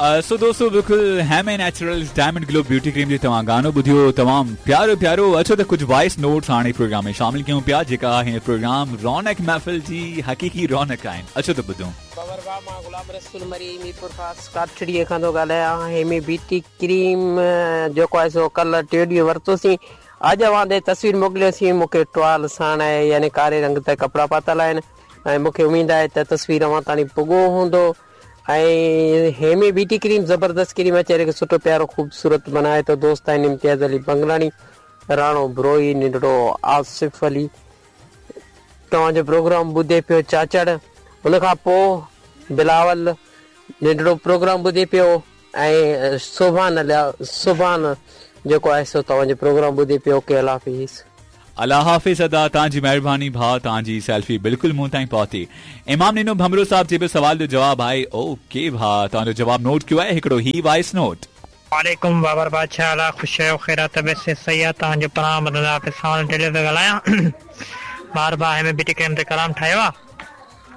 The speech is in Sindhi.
سو دوستو بلڪل هيمي نيچرلز ڊائمنڊ گلو بيوٽي ڪريم جي توهان گانو ٻڌيو تمام پيارو پيارو اچو ته ڪجهه وائس نوٽس هاڻي پروگرام ۾ شامل ڪيون پيا جيڪا هن پروگرام رونق محفل جي حقيقي رونق آهن اچو ته ٻڌون. بابر ڀاء مان غلام رسول مري ميرپورخاص ڪاٺڙي کان ٿو ڳالهايان هيمي بيوٽي ڪريم جيڪو آهي سو ڪلهه ٽيون ڏينهن ورتوسين اڄ اوهان ڏي تصوير موڪليوسين مون کي ٽوال ساڻ آهي يعني ڪاري رنگ تي ڪپڙا پاتل آهن ۽ مون کي اميد آهي ته تصوير اوهان تاڻي پڳو هوندو ۽ هيمي بيوٽي ڪريم زبردست ڪريم آهي چهري کي سٺو پيارو خوبصورت بنائي ٿو دوست آهن امتياز علي بنگلاڻي راڻو بروهي ننڍڙو آصف علي توهان جو پروگرام ٻڌي پيو چاچڙ ان کان پو بلاول ننڍڙو پروگرام ٻڌي پيو ۽ سبحان الله سبحان جيڪو آهي سو توهان جو پروگرام ٻڌي پيو اوڪي الله حافظ. الله حافظ ادا توهان جي مهرباني ڀاء توهان جي سيلفي بلڪل مون تائين پهتي امام ڏنو ڀنڀرو صاحب جي به سوال جو جواب آهي اوڪي ڀاء توهان جو جواب نوٽ ڪيو آهي هڪڙو هي وائس نوٽ. وعليڪم بابر بادشاهه حال آ خوش آهيو خير آ طبيعت صحت صحيح آ توهان جو پروگرام ٻڌندا پيا سوال ٽيلر پيو ڳالهايان بار بار هيمي بيوٽي ڪريم تي ڪلام ٺاهيو آ.